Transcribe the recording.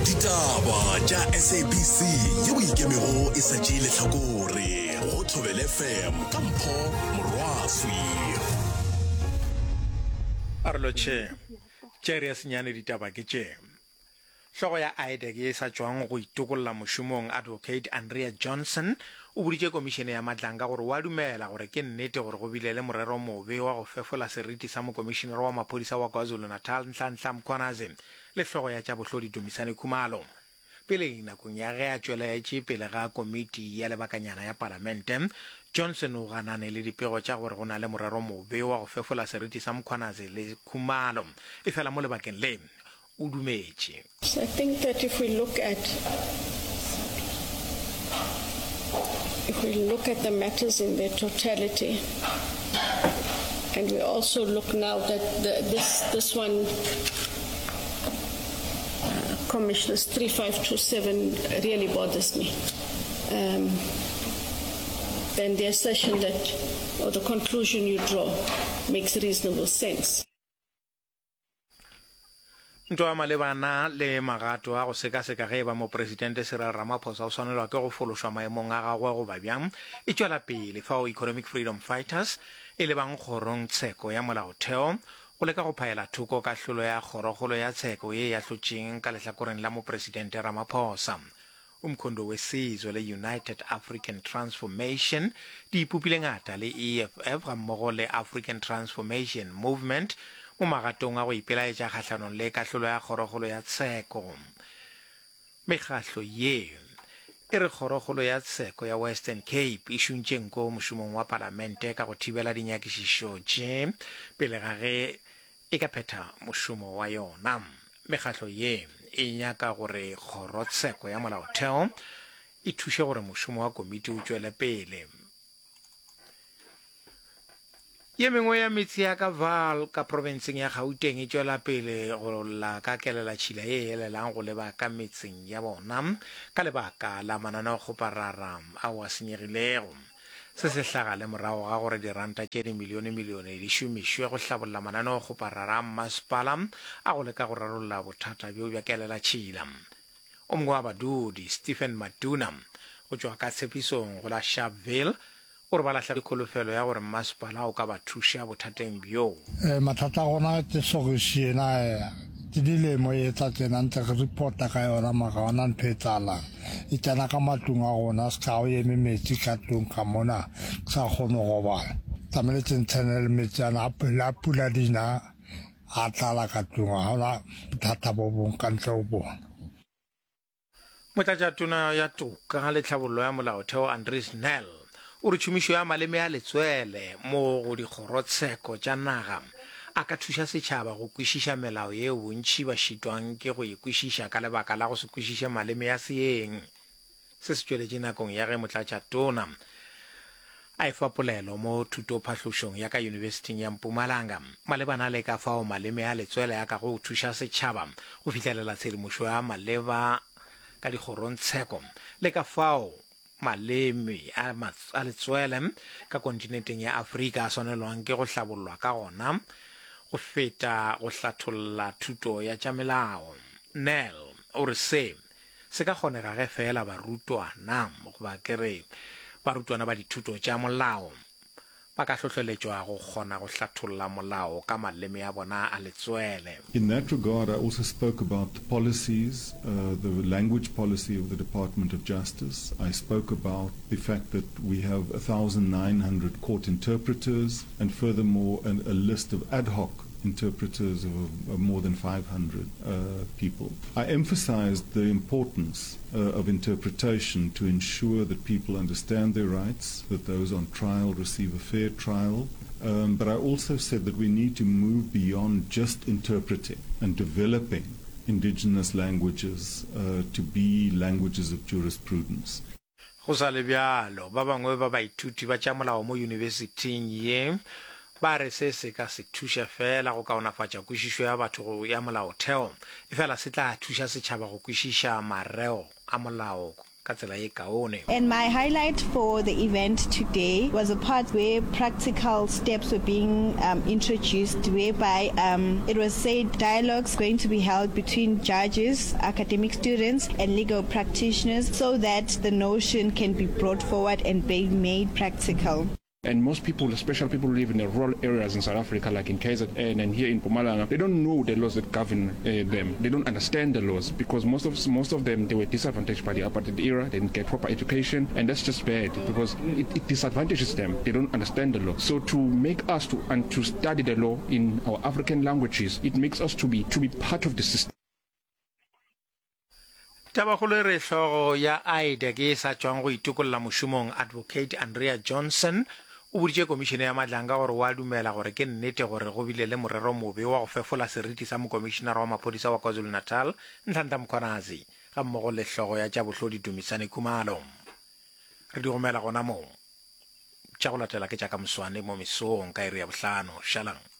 Ditaba tša SABC yeo e ikemego e sa tšee lehlakore go Thobela FM ka Mpho Morwaswi. A re lotšhe. Tše iri ya senyane ditaba ke tše. Hlogo ya IDAC ye e sa tšwang go itokolla mošomong, Advocate Andrea Johnson, o boditše Komišene ya Madlanga gore o a dumela gore ke nnete gore go bile le morero mobe wa go fefola seriti sa Mokomišenere wa Maphodisa wa KwaZulu-Natal Nhlanhla Mkhwanazi le hlogo ya tša bohlodi Dumisani Khumalo. Peleng nakong ya ge a tšweletše pele ga komiti ya lebakanyana ya palamente, Johnson o ganane le dipego tša gore go na le morero mobe wa go fefola seriti sa Mkhwanazi le Khumalo. Efela mo lebakeng le, o dumetše. I think that if we look at if we look at the matters in their totality and we also look now that the, this this one uh, commissioners 3527 really bothers me um, then the assertion that or the conclusion you draw makes reasonable sense Ntwa malebana le magato a go sekaseka ge e ba Mopresidente Cyril Ramaphosa o swanelwa ke go fološwa maemong a gagwe goba bjang e tšwela pele fao Economic Freedom Fighters e lebang kgorong tsheko ya molaotheo go leka go phaela thoko kahlolo ya kgorokgolo ya tsheko ye e ahlotšeng ka lehlakoreng la Mopresidente Ramaphosa. Umkhonto weSizwe le United African Transformation di ipopile ngata le EFF gammogo le African Transformation Movement mo magatong a go ipelaetša kgahlanong le kahlolo ya Kgorokgolo ya Tsheko. Mekgahlo ye e re Kgorokgolo ya Tsheko ya Western Cape e šuntše nko mošomong wa Palamente ka go thibela dinyakišišo tše pele ga ge e ka phetha mošomo wa yona. Mekgatlo ye e nyaka gore kgorotsheko ya molaotheo e thuše gore mošomo wa komiti o tšwele pele. Ye mengwe ya metse ya ka Vaal ka profenseng ya Gauteng e tšwela pele go lla ka kelelatšhila ye e elelang go leba ka metseng ya bona ka lebaka la mananeokgoparara ao a senyegilego. Se se hlaga le morago ga gore diranta tše dimilionemilione di šomišwe go hlabolla mananeokgoparara a mmasepala a go leka go rarolla bothata bjo bja kelelatšhila. O mongwe wa badudi, Stephen Maduna, go tšwa ka tshepisong go la Sharpeville, o re ba lahlegetšwe ke kholofelo ya gore mmasepala o ka ba thuša bothateng bjo. Mathata a gona ke sokisi ena ke dilemo e tla tsena ntse re reporta ka yona mara ga gona ntho e tsalang. E tsena ka matlong a rona se ka o eme metsi ka tlong ka mona ke sa kgone go robala. Tlamehile tse ntshene le metsi ana a pula dina a tlala ka tlong ga gona bothata bo bong ka ntle go bona. Motlatšatona ya Toka le Tlhabollo ya Molaotheo Andries Nel o re tšhomišo ya maleme a letswele mo go dikgorotsheko tša naga a ka thuša setšhaba go kwešiša melao yeo bontši ba šitwang ke go e kwešiša ka lebaka la go se kwešiše maleme a seeng. Se se tšweletše nakong ya ge motlatšatona a efa polelo mo thutophahlošong ya ka Yunibesithing ya Mpumalanga malebana le ka fao maleme a letswele a kago thuša setšhaba go fihlelela tshedimošo ya maleba ka dikgorongtsheko le ka fao Maleme a a letswele ka kontinenteng ya Afrika a swanelwang ke go hlabollwa ka gona go feta go hlatholla thuto ya tša melao. Nel o re se se ka kgonega ge feela barutwana goba ke re barutwana ba dithuto tša molao ba ka hlohleletšwa go kgona go hlatholla molao ka maleme a bona a letswele. In that regard, I also spoke about the policies, uh, the language policy of the Department of Justice. I spoke about the fact that we have 1,900 court interpreters and furthermore an, a list of ad hoc interpreters of, of more than 500 uh, people. I emphasized the importance uh, of interpretation to ensure that people understand their rights, that those on trial receive a fair trial. Um, but I also said that we need to move beyond just interpreting and developing indigenous languages uh, to be languages of jurisprudence. Go sa le bjalo, ba bangwe ba baithuti ba tša molao mo yunibesithing ye ba re se se ka se thuše feela go kaonafatša kwešišo ya batho ya molaotheo, efela se tla thuša setšhaba go kwešiša mareo a molao. ka tsela ye kaone. And my highlight for the event today was a part where practical steps were being um, introduced, whereby um, it was said dialogues going to be held between judges, academic students, and legal practitioners so that the notion can be brought forward and be made practical. And most people, especially people who live in the rural areas in South Africa, like in KZN and here in Mpumalanga, they don't know the laws that govern uh, them. They don't understand the laws because most of most of them they were disadvantaged by the apartheid era. They didn't get proper education, and that's just bad because it, it disadvantages them. They don't understand the law. So to make us to and to study the law in our African languages, it makes us to be to be part of the system. Tabakgolo e re hlogo ya IDAC ye e sa tšwang go itokolla mošomong, Advocate Andrea Johnson, o boditše Komišene ya Madlanga gore o a dumela gore ke nnete gore go bile le morero mobe wa go fefola seriti sa Mokomišenara wa Maphodisa wa KwaZulu-Natal, Nhlanhla Mkhwanazi, gammogo le hlogo ya tša bohlodi Dumisani Khumalo. Re di gomela gona moo. Tša go latela ke tša ka moswane mo mesong ka iri ya bohlano. Šalang.